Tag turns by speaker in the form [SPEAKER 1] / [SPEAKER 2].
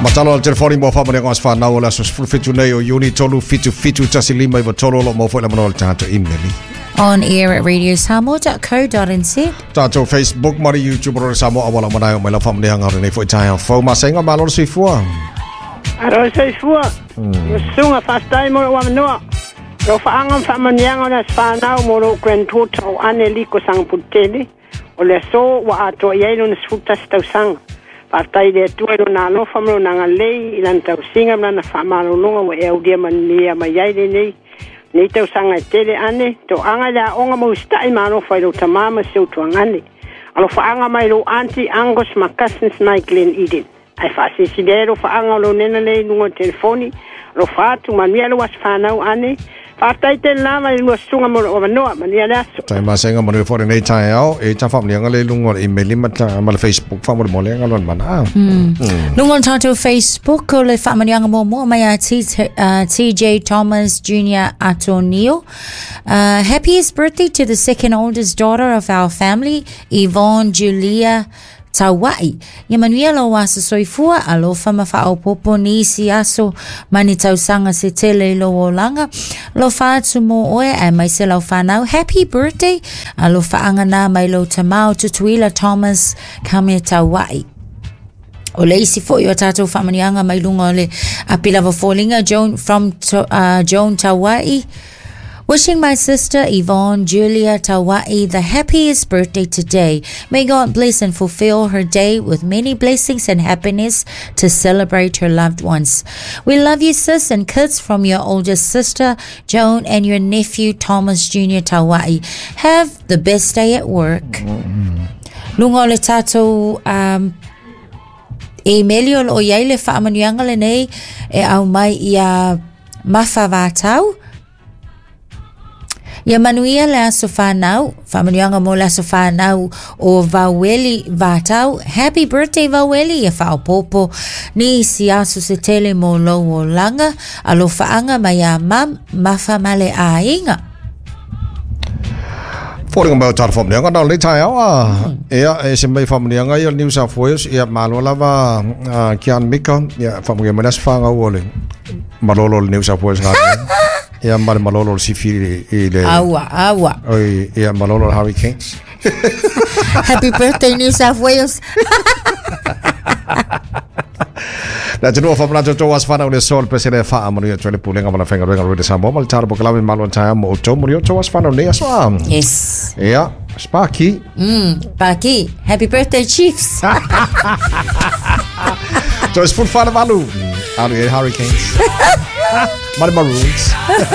[SPEAKER 1] Matalo al telefoni mo whamane ngā whanau o le aso 17 nei o Iuni 3 7 7 1 5 9 3 o lo mo foi la manoa le tātou email.
[SPEAKER 2] On air at radiosamoa.co.nz.
[SPEAKER 1] Tātou Facebook ma le YouTube o le Samoa awala manai o mai lau whamaneanga o lenei foi taeao fou. Masenga malo le soifua.
[SPEAKER 3] Aro soifua. Sunga fa'afetai mo lo'u avanoa. Lo fa'aga ma fa'amanuiaga o le aso fanau mo lo'u granddaughter o Ane Liko Sagapolutele, o le aso ua atoa i ai lona 11 tausaga. Fa'afetai i le Atua i lona alofa ma lona agalelei i lana tausiga ma lana fa'amalologa ua e aulia manuia mai ai lenei nei tausaga e tele ane, to'aga i le a'oga ma usita'i ma alofa i lou tamā ma si ou tuagane. Alofa'aga mai lou aunty, uncles ma cousins mai Glen Eden. Ae fa'asilisili ai alofa'aga o lou nena lea i luga o le telefoni. Alofa atu, manuia lou aso fanau ane. Fa'afetai tele lava i le lua susuga mo lo'u avanoa. Manuia le aso.
[SPEAKER 1] Tai masenga manuia foi lenei taeao e ta whaamanianga le lunga o le email ma ta ma le Facebook whaamole nga lon mana.
[SPEAKER 2] Lunga o le tātou Facebook o le whaamanianga muamua mai a TJ Thomas Jr. Atonio. Happiest birthday to the second oldest daughter of our family, Yvonne Julia Taua'i. Ia manuia lou aso soifua, alofa ma faaopoopo nisi aso ma ni tausaga se tele i lou olaga. Alofa atu mo oe aemaise lau fanau. Happy birthday! Alofaaga na mai lou tamā o Tutuila Thomas Kame Taua'i. O le isi foi o tātou faamanuiaga mai luga o le api lava foliga Joan from Joan Taua'i. Wishing my sister Yvonne Julia Taua'i the happiest birthday today. May God bless and fulfill her day with many blessings and happiness to celebrate her loved ones. We love you, sis, and kids from your older sister, Joan, and your nephew, Thomas Jr. Taua'i. Have the best day at work. Lunga o le tātou email o lo o iai le faamanuiaga lenei e au mai ia Mafa Vatau. Ia manuia le aso whanau, whamanuianga mo le aso whanau o Vaueli Vatau. Happy birthday Vaueli, ia whaopopo ni si aso se tele mo lou olaga, alofaanga mai a mam, mafa ma le aiga.
[SPEAKER 1] Fōringa mai o tātou whamanuianga, nā le taeao a. Ea, e se mai whamanuianga ia o New South Wales, ia malo lava Kian Mika, ia whamanuia mai nasi whangau o le malolo o le New South Wales ngā. Ia ma le malolo o le sifi i le...
[SPEAKER 2] Aua, aua.
[SPEAKER 1] Oi, ia malolo o le Hurricanes.
[SPEAKER 2] Happy birthday New South Wales.
[SPEAKER 1] Na te nua whamanatu tō as whanau le sol pese le wha amanu ia tuele pulenga ma la whenga ruenga rui le Samoa ma le tāra pokalame malo an taia mo o tō muri o tō as whanau nei aso a.
[SPEAKER 2] Yes.
[SPEAKER 1] Ia, Sparky.
[SPEAKER 2] Sparky. Happy birthday Chiefs.
[SPEAKER 1] Tō es full whana valu. Alu e Hurricanes. Ma le Maroons.